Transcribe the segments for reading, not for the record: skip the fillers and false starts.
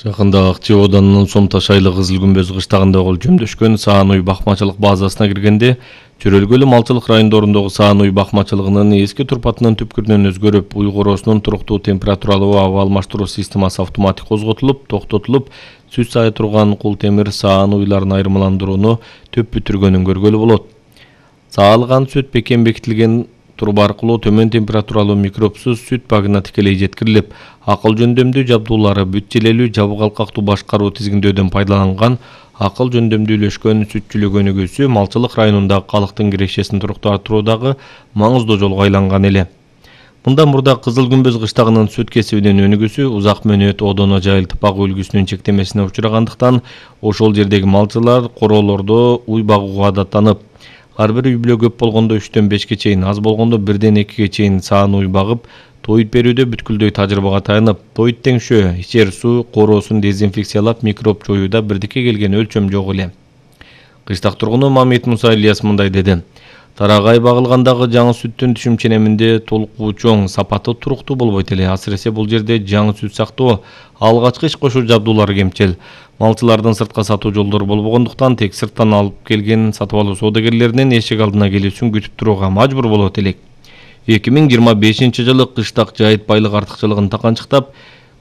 Жакында Акчы Оданынын Сом Таш айылы Кызыл Күмбөз кыштагында өлчөмдөшкөн Саан уй бакмачылык базасына киргенде Чөрөлгөлү малчылык райондорундогу Саан уй бакмачылыгынын эски турпатынын түпкүрүнөн өзгөрүп, уй короосунун туруктуу температуралуу аба алмаштыруу системасы автоматик козготулуп, токтотулуп, сүт сая турган кул темир Саан уйларын айырмаландырууну төп бүтүргөнүн көргөлү болот. Саалган сүт бекем бекитилген турба аркылуу төмөн температуралуу микробсуз сүт багына тикелей жеткирилип, акыл жөндөмдүү жабдуулары бүт желелүү жабык алкактуу башкаруу тизгиндөөдөн пайдаланган акыл жөндөмдүүлөшкөн сүтчүлүк өнүгүүсү малчылык районундагы калктын кирешесин туруктатуудагы маңыздуу жолго айланган эле. Мындан мурда Кызыл Күмбөз кыштагынын сүт кесибинин өнүгүүсү узак мөөнөт одоно жайылтып багуу үлгүсүнүн чектемесине учурагандыктан ошол жердеги малчылар короолордо уй багууга адаттанып, ар бир үй бүлө көп болгондо 3-төн 5ке чейин, аз болгондо 1-ден 2ге чейин Саан уй багып, тоют берүүдө бүткүлдөй тажрыйбага таянып, тоют теңшөө, ичер суу короосун дезинфекциялап, микроб жоюуда бирдикке келген өлчөм жок эле. Кыштак тургуну Мамит Муса Ильяс мындай деди: Тарагай багылгандагы жаңы сүттүн түшүм-ченеминде толугу чоң, сапаты туруктуу болбойт эле. Асыресе бул жерде жаңы сүт сактоо, алгачкы иш кошуу жабдуулары кемчил. Малчылардын сыртка сатуу жолдору болбогондуктан тек сырттан алып келген сатып алуу соодагерлеринин эшик алдына келүүсүн күтүп турууга мажбур болот элек. 2025-жылы кыштак жайыт байлык артыкчылыгын таканчыктап,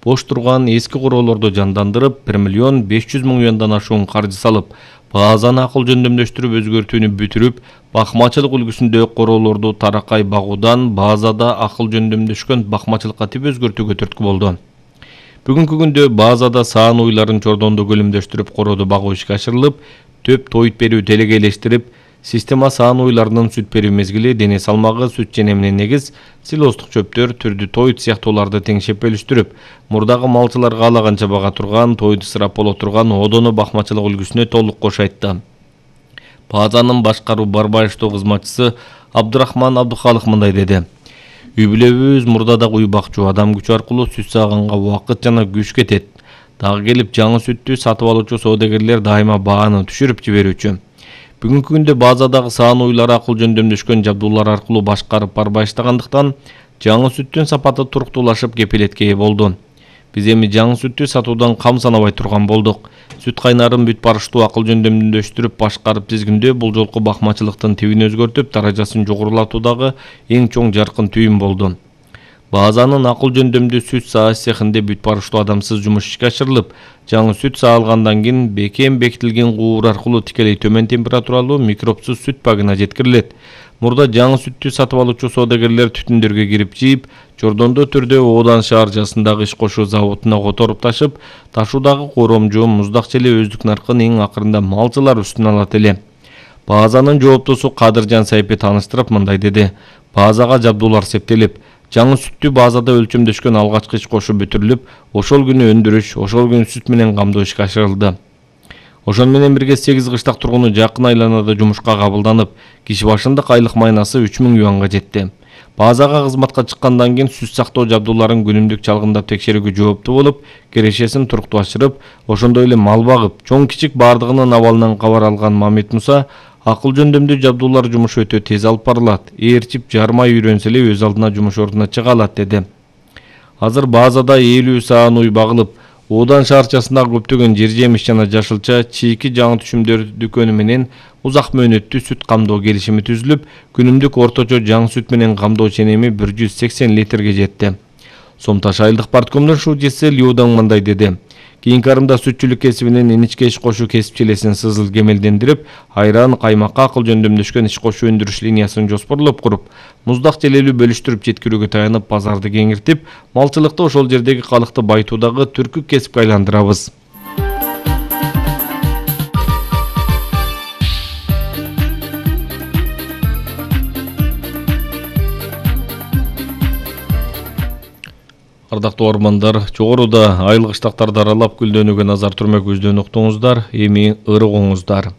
бош турган эски короолорду жандандырып, 1,5 миллиондон ашуун каржы салып, базаны акыл жөндөмдөштүрүп өзгөртүүнү бүтүрүп, бакмачылык үлгүсүндө короолорду таракай багуудан базада акыл жөндөмдөшкөн бакмачылыкка тип өзгөртүүгө түрткү болду. Бүгүнкү күндө базада Саан уйларын чордондо көлөмдөштүрүп корооду багуу ишке ашырылып, төп тоют берүү делегейлештирип, система Саан уйларынын сүт берүү мезгили, дене салмагы, сүт ченемине негиз, силостук чөптөр, түрдүү тоют сыяктууларды теңшеп бөлүштүрүп, мурдагы малчылар каалаганча бага турган, тоют ысырап боло турган одоно бакмачылык үлгүсүнө толук кош айтты. Базанын башкаруу барбаштоо кызматчысы Абдурахман Абдухалык мындай деди: Үй бүлөбүз мурда да уй бакчу, адам күчү аркылуу сүт сааганга убакыт жана күч кетет. Дагы келип жаңы сүттү сатып алуучу соодагерлер дайыма бааны түшүрүп жиберүүчү. Бүгүнкү күндө базадагы Саан уйлары акыл жөндөмдөшкөн жабдуулар аркылуу башкарып барбаштагандыктан жаңы сүттүн сапаты туруктуулашып кепилетке ээ болду. Биз эми жаңы сүттү сатуудан кам санабай турган болдук. Сүт кайнарын бүт барыштуу акыл жөндөмдөштүрүп башкарып тизгиндөө бул жолку бакмачылыктын тибин өзгөртүп, даражасын жогорулатуудагы эң чоң жаркын түйүн болду. Базанын акыл жөндөмдүү сүт сааш цехинде бүт барыштуу адамсыз жумуш ишке ашырылып, жаңы сүт саалгандан кийин бекем бекитилген куур аркылуу тикелей төмөн температуралуу микробсуз сүт багына жеткирилет. Мурда жаңы сүттү сатып алуучу соодагерлер түтүндөргө кирип жийип, чордондо түрдө Одан шаарчасындагы иш кошуу заводуна которуп ташып, ташуудагы коромжу, муздак желе өздүк наркын эң акырында малчылар үстүнө алат эле. Базанын жооптосу Кадыржан Сайпе тааныштырып мындай деди: Базага жабдуулар септелип, жаңы сүттү базада өлчөмдөшкөн алгачкы иш кошуу бүтүрүлүп, ошол күнү өндүрүш, ошол күнү сүт менен камдоо ишке ашырылды. Ошол менен бирге 8 кыштак тургуну жакын айланада жумушка кабылданып, киши башындык айлык майнасы 3000 юанга жетти. Базага кызматка чыккандан кийин сүт сактоо жабдууларын күнүмдүк чалгындап текшерүүгө жооптуу болуп, кирешесин туруктуашырып, ошондой эле мал багып, чоң-кичик бардыгынын абалынан кабар алган Мамит Муса, акыл жөндөмдүү жабдуулар жумушу өтө тез алып барылат, ээрчип жармай үйрөнсө эле өз алдына жумуш ордуна чыга алат деди. Азыр базада 50 Саан уй багылып, Одан шаарчасындагы көптөгөн жер жемиш жана жашылча чийки жаңы түшүмдөр дүкөнү менен узак мөөнөттүү сүт камдоо келишими түзүлүп, күнүмдүк орточо жаңы сүт менен камдоо ченеми 180 литрге жетти. Сом Таш айылдык парткомдун шуудчусы Лиудан мындай деди: Кийинки арымда сүтчүлүк кесибинин иничке иш кошуу кесипчилесин сызыл кемелдендирип, айран, каймакка акыл жөндөмдөшкөн иш кошуу өндүрүш линиясын жоспорлоп куруп, муздак желелүү бөлүштүрүп жеткирүүгө таянып, базарды кеңиртип, малчылыкты ошол жердеги калыкты байытуудагы түркү кесипке айландырабыз. Ардактуу армандар, жогоруда айыл кыштактарды аралап гүлдөнүүгө назар түрмөк көздөн уктуңуздар, эми ырыгыңыздар.